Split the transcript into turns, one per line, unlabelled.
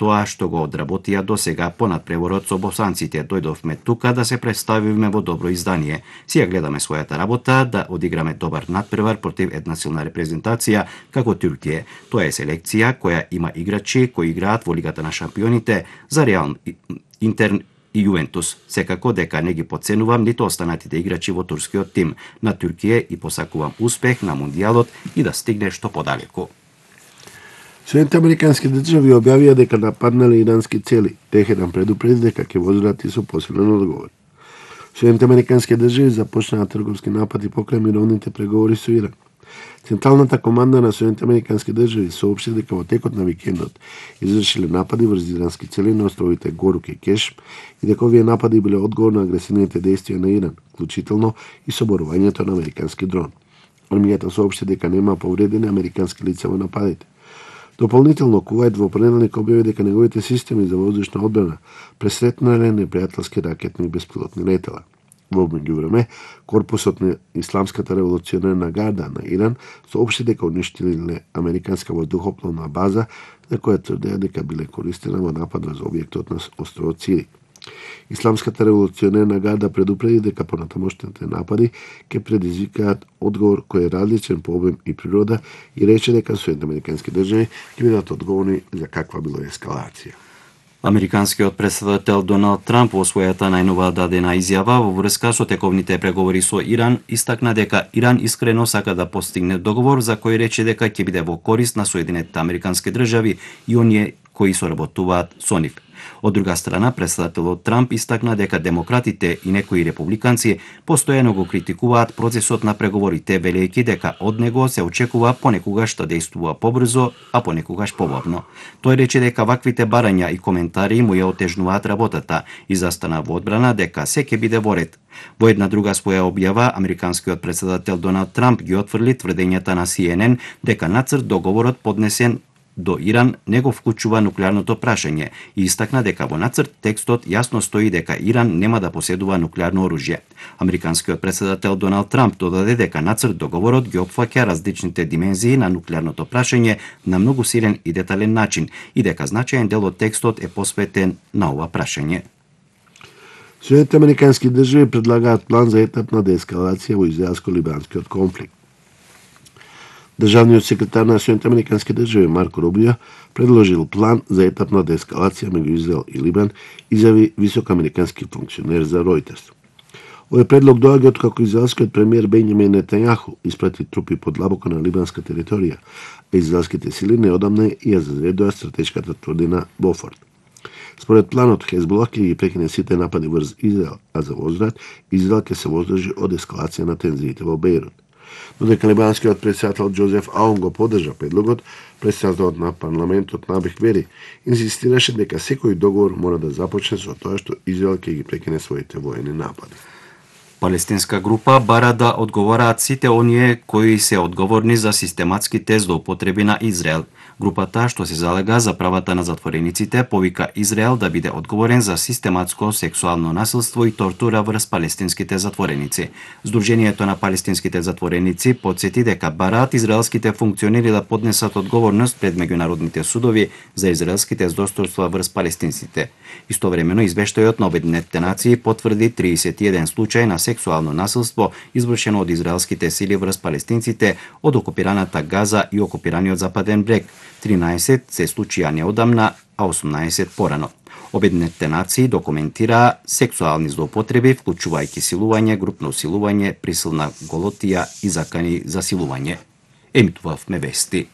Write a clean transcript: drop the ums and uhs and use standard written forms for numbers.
тоа што го одработија досега по надпреворот со босанците. Дојдовме тука да се представиме во добро издание. Си ја гледаме својата работа, да одиграме добар надпревар против една силна репрезентација како Туркија. Тоа е селекција која има играчи кои играат во Лигата на шампионите за Реал, Интер и Јувентус. Секако дека не ги подценувам ниту останатите играчи во турскиот тим на Туркија и посакувам успех на Мундијалот и да стигне што подалеку.
Соединените американски држави објавија дека нападнале ирански цели. Техеран предупреди дека ќе возрати со посилен одговор. Соединените американски држави започнаа трговски напади покрај мировните преговори со Иран. Централната команда на Соединените американски држави соопшти дека во текот на викендот извршиле напади врз ирански цели на островите Горук и Кеш и дека овие напади биле одговор на агресивните дејствија на Иран, вклучително и соборувањето на американски дрон. Армијата соопшти дека нема повредени американски лица во нападите. Дополнително, Кувајт во понеделник објави дека неговите системи за воздушна одбрана пресретнале непријателски ракетни и беспилотни летала. Во меѓувреме, корпусот на Исламската револуционерна гарда на Иран соопшти дека уништиле американска воздухопловна база за која тврдеа дека биле користена во напад врз објектот на островот Сири. Исламската револуционерна гарда предупреди дека понатамошните напади ќе предизвикаат одговор кој е различен по обем и природа и рече дека Соединените американски држави ќе бидат одговорни за каква било ескалација.
Американскиот претседател Доналд Трамп во својата најнова дадена изјава во врска со тековните преговори со Иран истакна дека Иран искрено сака да постигне договор за кој рече дека ќе биде во корист на Соединетите американски држави и оние кои соработуваат со нив. Од друга страна, претседателот Трамп истакна дека демократите и некои републиканци постојано го критикуваат процесот на преговорите, велејќи дека од него се очекува понекогаш да действува побрзо, а понекогаш побавно. Тој рече дека ваквите барања и коментари му ја отежнуваат работата и застана во одбрана дека се ќе биде во ред. Во една друга своја објава, американскиот претседател Доналд Трамп ги отфрли тврдењата на CNN дека нацрт договорот поднесен до Иран не го вклучува нуклеарното прашање и истакна дека во нацрт текстот јасно стои дека Иран нема да поседува нуклеарно оружје. Американскиот претседател Доналд Трамп додаде дека нацрт договорот ги опфаќа различните димензии на нуклеарното прашање на многу силен и детален начин и дека значаен дел од текстот е посветен на ова прашање.
Соединените американски држави предлагаат план за етапна деескалација во израелско-либанскиот конфликт. Државниот секретар на Соединените американски држави Марко Рубио предложил план за етапна деескалација меѓу Израел и Либан, изјави висок американски функционер за Reuters. Овој предлог доаѓа откако израелскиот премиер Бенјамин Нетањаху испрати трупи подлабоко на либанска територија, а израелските сили неодамна ја зазредоа стратешката тврдина Бофорт. Според планот, Хезбола ќе ги прекине сите напади врз Израел, а за возврат Израел ќе се воздржи од ескалација на тензиите во Бејрут. Додека либанскиот претседател Џозеф Аун го поддржа предлогот, претседателот на парламентот Набих Бери инсистираше дека секој договор мора да започне со тоа што Израел ќе ги прекине своите воени напади.
Палестинска група бара да одговораат сите оние кои се одговорни за систематските злоупотреби на Израел. Групата што се залега за правата на затворениците повика Израел да биде одговорен за систематско сексуално насилство и тортура врз палестинските затвореници. Сдруженијето на палестинските затвореници потсети дека бараат израелските функционери да поднесат одговорност пред меѓународните судови за израелските злосторства врз палестинците. Истовремено извештајот на Обединетите нации потврди 31 случај на сексуално насилство извршено од израелските сили врз палестинците од окупираната Газа и окупираниот Западен брег. 13 се случија неодамна, а 18 порано. Обединетите нации документираа сексуални злоупотреби, вклучувајќи силување, групно силување, присилна голотија и закани за силување. Емитувавме вести.